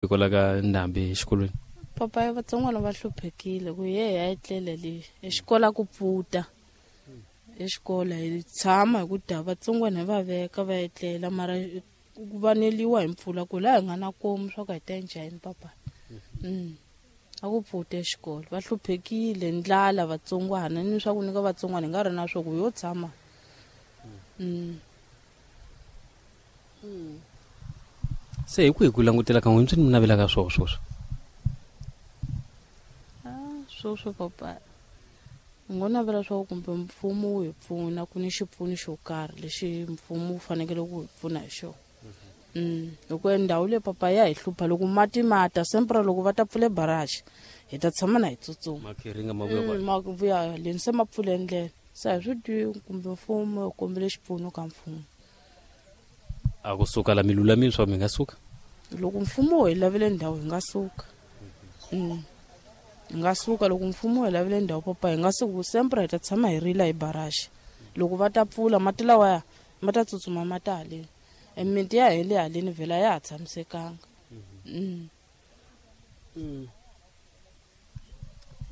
Hikwalaho ka ndhambi exikolweni. Papa vatsongwana va hluphekile ku ye hi ya etlela le exikola ku pfuta exikola hi tshama hi ku da vatsongwana hi va veka va etlela mara ku vaneliwa hi mpfula ku laha hi nga na komu swa ku hi ta njhani papa. A ku pfuta exikolo va hluphekile ndlala vatsongwana ni swa ku nyika vatsongwana hi nga ri na swo ku yo tshama. Se hi kwihi ku langutela ka n'wina swi ni navelaka swoho swoswo? Swoswo papa hi ngo navela swa ku kumbe mfumo wu hi pfuna ku ni xipfuno xo karhi lexi mfumo wu fanekele ku hi pfuna hi xona. Hikuva ndhawu leyi papa ya hi hlupha loko mati ma ta sempre loko va ta pfule barrage hi ta tshama na hi tsutsuma. Makhiringa ma vuya kwala. Ma vuya haleni se ma pfule ndlela se a hi swi tivi kumbe mfumo hi kombele xipfuno ka mfumo. A ku suka la mi lulamile swa mi nga suka? Loko mfumo wu hi lavele ndhawu hi nga suka. Hi nga suka loko mfumo wu hi lavele ndhawu papa hi nga suka sempre hi ta tshama hi rila hi barrage. Loko va ta pfula mati lawaya ma ta tsutsuma ma ta haleni. Miti ya hele haleni vhela ya ha tshamisekanga.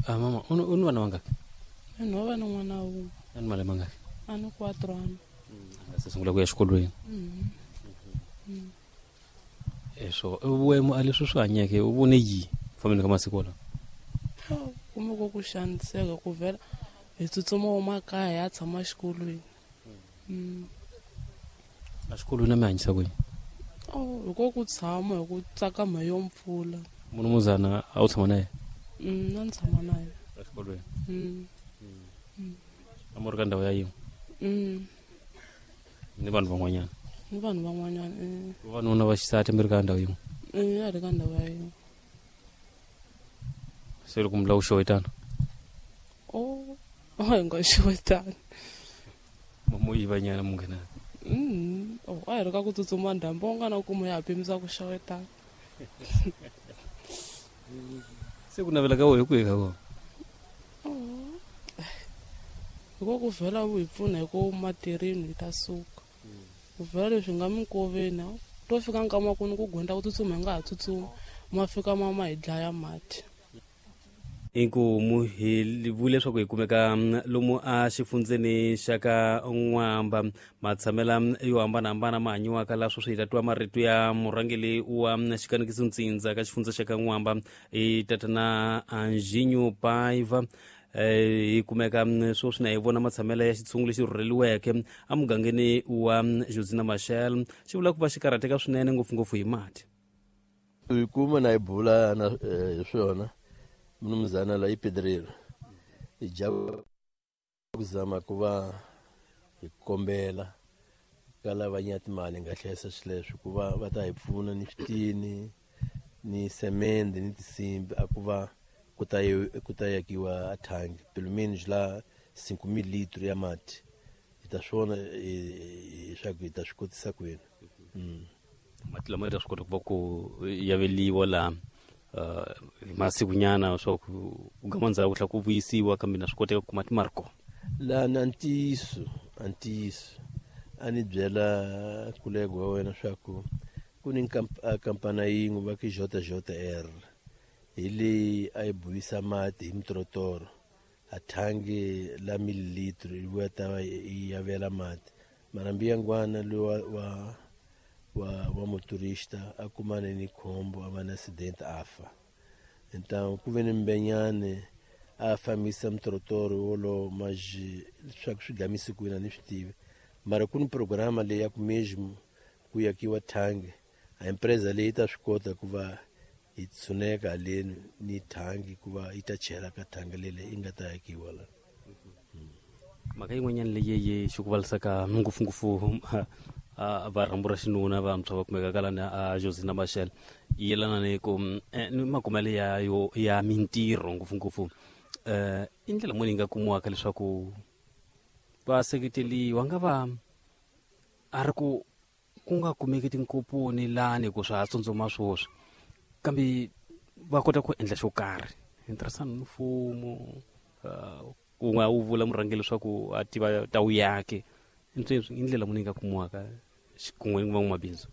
Mama, u ni vana vangaki? Ni va na n'wana wun'we. A ni malembe mangaki? A ni 4 ano. Se sungula ku ya exikolweni. Eswo wena a leswi swi hanyeke u vone yi fambeni ka masiku lawa? Kumbe ku ku xaniseka ku vhela hi tsutsuma wa makaya ya tshama xikolweni. A xikolweni a mi hanyisa ku yini? Hi ko ku tshama hi ku tsakama yo mpfula. Munumuzana a wu tshama na yena? Na ni tshama na yena. Exikolweni? A mu ri ka ndhawu ya yin'we? Ni vanhu van'wanyana? Ni vanhu van'wanyana, Vavanuna va xisati mi ri ka ndhawu yin'we? A ri ka ndhawu ya yin'we. Se loko mi lava ku xewetana? A hi nga xewetani. Mo yivanyana munghana. A hi ri ka ku tsutsuma ndhambi u nga na kuma ya ha pimisa ku xewetana. Se ku navela ka wena hi kwihi ka kona? Hi ko ku vhela wu hi pfuna hi ku matirhini hi ta suka. Ku vhela leswi nga minkoveni to fika nkama ku ni ku gonda ku tsutsuma hi nga ha tsutsumi ma fika ma hi dlaya mati. Inkomu hi vule leswaku hi kumeka lomu a xifundzeni xa ka N'wamba matshamela yo hambanahambana ma hanyiwaka la sweswi hi ta twa marito ya murhangeri wa xikanekiso ntsindza ka xifundza xa ka N'wamba i tatana Anjinho Paiva. Hi kumeka sweswi na hi vona matshamela ya xitshungu lexi rhurheliweke emugangeni wa Josina Machel xi vula ku va xi karhateka swinene ngopfungopfu hi mati. Hi kuma na hi bula na hi swona mnumzana la i pedreiro hi ja ku zama ku va hi kombela ka lava nya timali nga hlayisa swileswo ku va va ta hi pfuna ni switini ni semende ni tinsimbi a ku va ku ta yakiwa a thangi pelo menos la 5,000 litro ya mati hi ta swona leswaku hi ta swi kotisa kwini. Mati lama ta swi kota ku va ku yaveliwa laha hi masikunyana swa ku ku gama ndzhaku ku tlhela ku vuyisiwa kambe na swi koteka ku kuma timali kona. La na ntiyiso a ntiyiso a ni byela kulego wa wena swa ku ku ni kampani yin'we va ku JJR hi leyi a yi buyisa mati hi mitorotoro a thangi la mililitro yi vuya ta va yi yavela mati mara mbiyangwana loyi wa motorista a kumane ni khombo a va na accident a fa. Então ku ve ni mbenyane a fambisa mitorotoro wolowo maji leswaku swi gamise kwini a ni swi tivi mara ku ni programa leyi ya ku mesmo ku yakiwa thangi a empresa leyi ta swi kota ku va hi tshuneka haleni ni thangi ku va yi ta chela ka thangi leyi yi nga ta yakiwa la. Mhaka yin'wanyana leyi yi xi ku valisaka ngopfungopfu va rhambu ra xinuna vantshwa va kumeka ka lani a Josina Machel yi yelana ni ku ni makumelo ya yo ya mintirho ngopfungopfu i ndlela muni yi nga kumiwaka leswaku va seketeliwa nga va a ri ku ku nga kumeki tinkoponi lani ku swa ha tsundzuma swoswi kambe va kota ku endla xo karhi hi ntirhisano ni mfumo ku nga wu vula murhangeri leswaku a tiva ta wu yake i ndlela muni yi nga kumiwaka xikun'we ni van'wamabindzu?